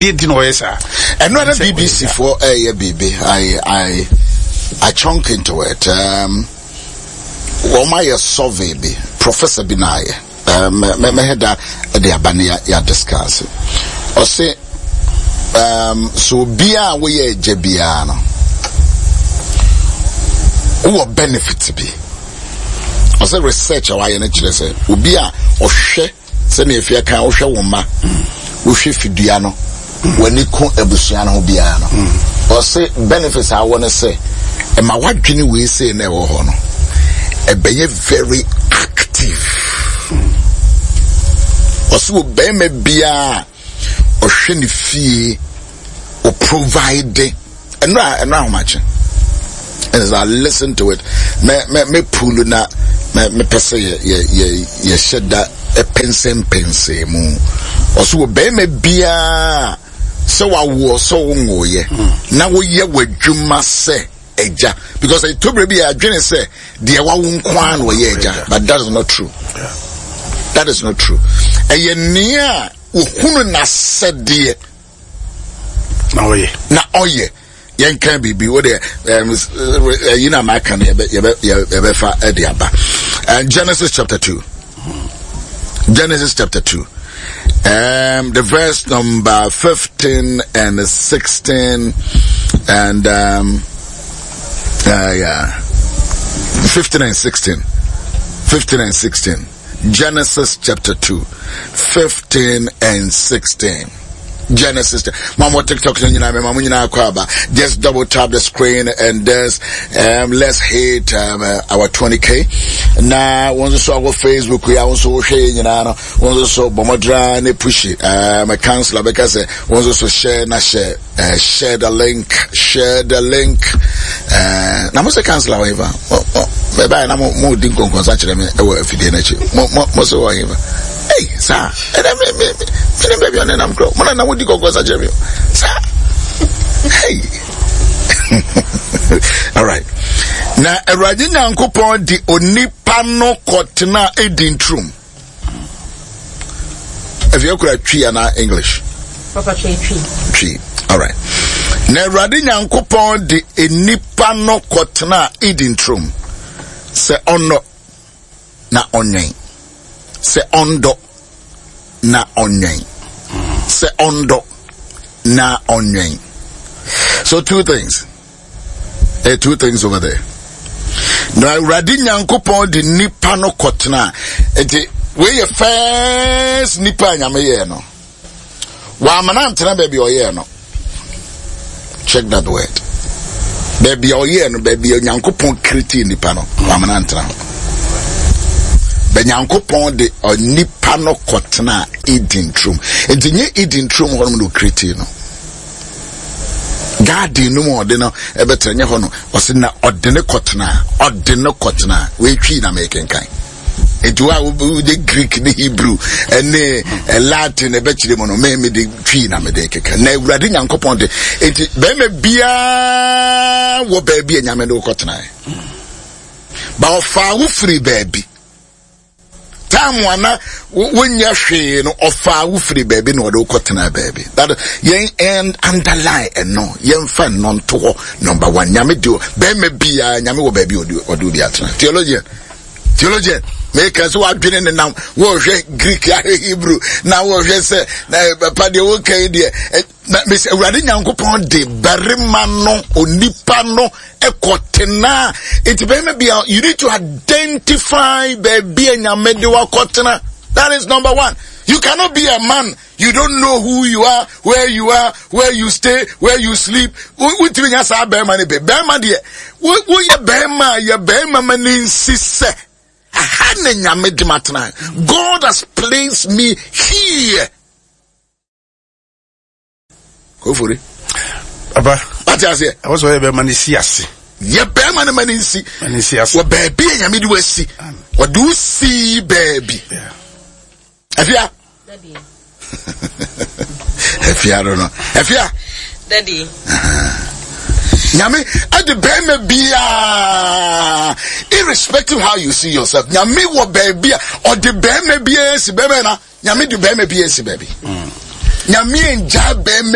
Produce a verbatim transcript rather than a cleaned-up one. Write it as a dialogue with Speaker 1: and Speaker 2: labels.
Speaker 1: Deɛ nti na ɔyɛ saa.
Speaker 2: Ɛno na B B C foɔ ɛyɛ biribi. I I I chunk into it. Um, wɔn ayɛ survey bi, professor bi na ayɛ. Mɛ mɛhɛ da ɛde aba ne yɛ yɛ discuss. Ɔse um, so obiara a woyɛ agya biara no, wowɔ benefit bi. Ɔsɛ research a wayɛ no kyerɛ sɛ obi a ɔhwɛ, sɛnea efia kan, wohwɛ wo mma, wohwɛ fidua no, w'ani ko abusua no ho biara no, ɔse benefits a wɔ no sɛ ɛma wadwene wei sei na ɛwɔ hɔ no ɛbɛyɛ very active. Ɔse wɔ bɛrima biara ɔhwɛ ne fie, o provide ɛnura ɛnura ahomakye, as I listen to it, me me me pull na me me pɛ sɛ yɛ yɛ yɛ yɛhyɛ da ɛpɛnsɛmpɛnsɛn mu. Ɔso wɔ bɛrima biara sɛ wawoɔ, sɛ wonwoyɛ, na woyɛ w'adwuma sɛ agya, because ɛtɔbere bi yɛ adwene sɛ deɛ wawo nko ara na ɔyɛ agya, but that is not true. That is not true. Ɛyɛ nea ohunu n'asɛdeɛ
Speaker 1: na ɔyɛ.
Speaker 2: Na ɔyɛ. Yɛnka biribi wo deɛ ɛyi na maka no, yɛbɛfa ɛde aba. Genesis chapter two, Genesis chapter two, um, the verse number fifteen and sixteen and um, uh, yeah, fifteen and sixteen, fifteen and sixteen. Genesis chapter two, fifteen and sixteen. Genesis. Mama TikTok, just double tap the screen and there's um, let's hit um, uh, our twenty k. Now, once so our Facebook, we also share, you know, once so bomodra ne push it. Um, a counselor because once so share na share, uh, share the link, share the link. Uh, na mo say counselor wɔ hefa? Mo mo bɛbaa na mo mo di nkɔnkɔnsa kyerɛ me ɛwɔ afidie n'akyi. Mo mo mo so wɔ hefa? Hey, saa ɛnɛ me me me ne baabi ɔne nam korɔ mo na na mo di nkɔnkɔnsa kyerɛ me saa. Hey, all right. Na Awurade Nyankopɔn de onipa no kɔtena Eden turom. Afei akura Twi anaa English?
Speaker 3: Papa, twi twi.
Speaker 2: Twi. All right. Na Awurade Nyankopɔn de onipa no kɔtena Eden turom sɛ ɔnnɔ na ɔnwɛn, sɛ ɔndɔ na ɔnwɛn, sɛ ɔndɔ na ɔnwɛn. So two things, eh, two things over there. Na Awurade Nyankopɔn de nipa no kɔtena, nti wei yɛ first nipa a Nyame yɛɛ no. Wamana ntena baabi a ɔyɛɛ no. Check that word, baabi a ɔyɛɛ no, baabi a Nyankopɔn create nipa no, wamana ntena hɔ. Bɛ Nyankopɔn de onipa no kɔtena Eden turom. Nti nye Eden turom hɔ nom na ɔcreate no. Garden no mu ɔde no ɛbɛtena nyɛ hɔ no. Ɔsɛ na ɔde ne kɔtena, ɔde ne kɔtena. Wɔatwi na mɛkenkan. Nti wo a wode Greek ne Hebrew ne Latin ɛbɛkyerɛ mu no, me mede Twi na mede keka. Na Awurade Nyankopɔn de, nti bɛrima biara wɔ baabi a Nyame de wokɔtena, ba ɔfaa wo firi baabi. Time ana wonyɛ hwee no, ɔfaa wo firi baabi na ɔde wokɔtena baabi. That yɛn and underline ɛno, yɛmfa nnɔ nto hɔ. Number one, Nyame de bɛrima biara, Nyame wɔ baabi ɔde ɔde obi atena. Theologian, theologian, meka sɛ wadwene ne nam wɔhwɛ Greek, ahwɛ Hebrew, na wɔhwɛ sɛ na papa deɛ wɔka yi deɛ na mesɛ Awurade Nyankopɔn de barima no, onipa no ɛkɔtena. Nti bɛrima bia, you need to identify baabi a Nyame de wakɔtena. That is number one. You cannot be a man, you don't know who you are, where you are, where you stay, where you sleep. Wotumi nya saa bɛrima no bɛ bɛrima deɛ woyɛ bɛrima a yɛ bɛrima ma ne nsi sɛ aha na Nyame de ma tena. God has placed me here. Kofori.
Speaker 1: Papa.
Speaker 2: Wate aseɛ?
Speaker 1: Ɛwɔ sɛ ɔyɛ bɛrima ne si ase.
Speaker 2: Yɛ bɛrima no ma ne nsi.
Speaker 1: Ma ne nsi ase.
Speaker 2: Wɔ baabi a Nyame de wasi, wɔde wo sii baabi. Afia, afia no no afia.
Speaker 3: Daddy.
Speaker 2: Nyame ɛde bɛrima biara, irrespective how you see yourself, Nyame wɔ baabi a ɔde bɛrima biara si. Bɛrima na Nyame de bɛrima biara si baabi. Nyame ngyaa bɛrima.